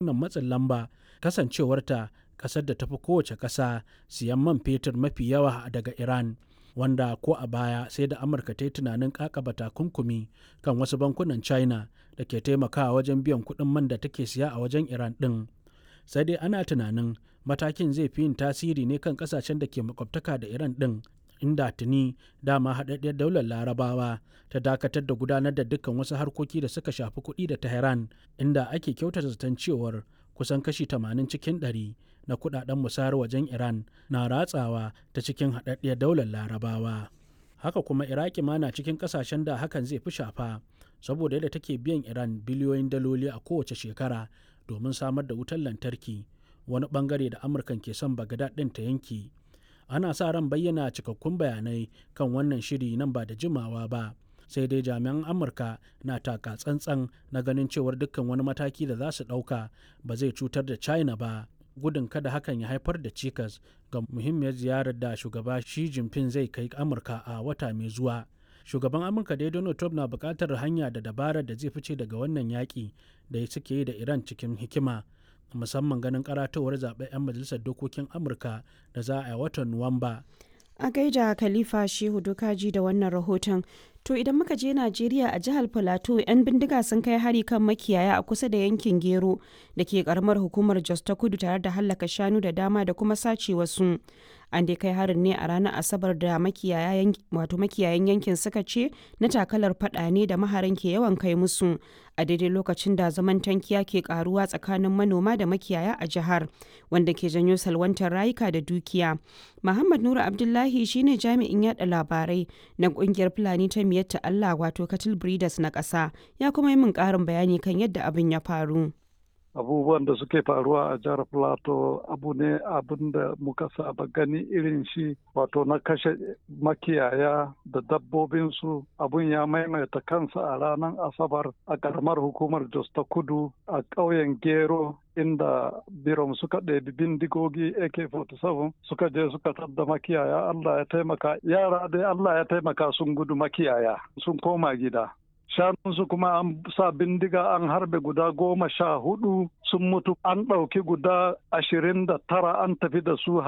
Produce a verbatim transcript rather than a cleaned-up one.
Wannan matsin lamba, kasancewarta ƙasar da ta fi kowace ƙasa siyan man fetur mafi yawa daga Iran, wanda ko a baya sai da Amurka ta yi tunanin ƙaƙaba takunkumi kan wasu bankunan China da ke taimakawa wajen biyan kuɗin man da take siya a wajen Iran ɗin. Sai dai ana tunanin matakin zai fi yin tasiri ne kan ƙasashen da ke makwabtaka da Iran ɗin, inda tuni dama Haɗaɗɗiyar Daular Larabawa ta dakatar da gudanar da dukkan wasu harkoki da suka shafi kuɗi da Tehran, inda ake kyautata zaton cewar kusan kashi tamanin cikin ɗari na kuɗaɗen musayar wajen Iran na ratsawa ta cikin Haɗaɗɗiyar Daular Larabawa. Haka kuma Iraki ma na cikin ƙasashen da hakan zai fi shafa, saboda yadda take biyan Iran biliyoyin daloli a kowace shekara domin samar da wutar lantarki, wani ɓangare da Amurkan ke son Bagdad ɗin ta yanke. Ana sa ran bayyana cikakkun bayanai kan wannan shiri nan ba da jimawa ba. Sai dai jami'an Amurka na taka tsantsan na ganin cewar dukkan wani mataki da za su ɗauka ba zai cutar da China ba, gudun kada hakan ya haifar da cikas ga muhimmiyar ziyarar da shugaba Xi Jinping zai kai Amurka a wata mai zuwa. Shugaban Amurka dai Donald Trump na buƙatar hanya da dabarar da zai fice daga wannan yaƙi da suke yi da Iran cikin hikima, musamman ganin karatowar zaɓen 'yan majalisar dokokin Amurka da za a yi watan Nuwamba. A gaida Khalifa Shehu Dukaji da wannan rahoton. To idan muka je Najeriya, a jihar Filato, 'yan bindiga sun kai hari kan makiyaya a kusa da yankin Gero da ke karamar hukumar Jos ta Kudu tare da hallaka shanu da dama da kuma sace wasu. An dai kai harin ne a ranar Asabar da makiyayan wato makiyayan yankin suka ce na takalar fada ne da maharan ke yawan kai musu a daidai lokacin da zaman tankiya ke karuwa tsakanin manoma da makiyaya a jihar, wanda ke janyo salwantar rayuka da dukiya. Muhammad Nura Abdullahi shine jami'in yada labarai na kungiyar Fulani ta Miyatta Allah, wato Cattle Breeders na ƙasa, ya kuma yi min ƙarin bayani kan yadda abin ya faru. Abubuwan da suke faruwa a jihar Plateau abu ne abin da muka saba gani irin shi, wato na kashe makiyaya da dabbobinsu. Abun ya maimaita kansa a ranar Asabar a karamar hukumar Jos ta Kudu, a ƙauyen Gero, inda birom suka ɗebi bindigogi A K arba'in da bakwai suka je suka tadda makiyaya. Allah ya taimaka, yara dai Allah ya taimaka sun gudu, makiyaya sun koma gida. Shanunsu kuma an sa bindiga an harbe guda goma sha hudu sun mutu, an ɗauki guda ashirin da tara an tafi da su har